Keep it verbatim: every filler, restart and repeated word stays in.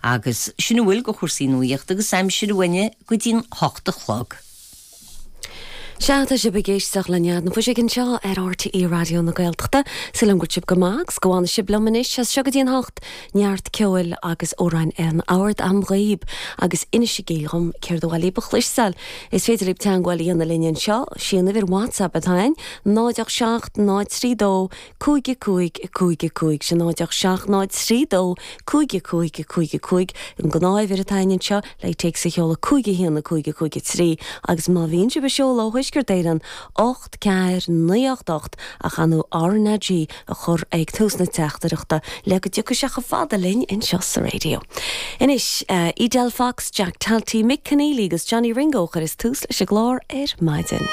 Agus sin a bhfuil de chúrsaí nuachta agus aimsire uainne go dtí'n hocht a chlog. Sea tá sibh ag éisteacht le Nead na Fuiseoige anseo ar RTÉ Raidió na Gaeltachta Súil agam go bhfuil sibh go maith agus go bhfanfaidh sibh liom anois as seo go dtí an hocht neart ceoil agus amhráin ar an ard agam dhaoibh agus inisígí dhom céard ba mhaith libh a chloisteáil. Is féidir libh teagmháil a dhéanamh linn anseo sí an uimhir WhatsApp atá ann náid ocht seacht náid trí dó cúig cúig cúig cúig sin náid ocht seacht náid trí dó cúig cúig cúig cúig an ghnáthuimhir atá ann anseo le téacs a sheoladh cúig a haon cúig cúig trí agus má bhíonn sibh ag seoladh ó Thuaisceart Éireann ocht ceathair naoi ocht ocht ach an RnaG a chur ag tús na teachtaireachta le go dtiocfaidh sé chomh fada linn anseo sa raidió. Anois uh, Edel Fox, Jack Talty, Mick Keneally agus Johnny Ringo chuir is tús leis an gclár ar maidin.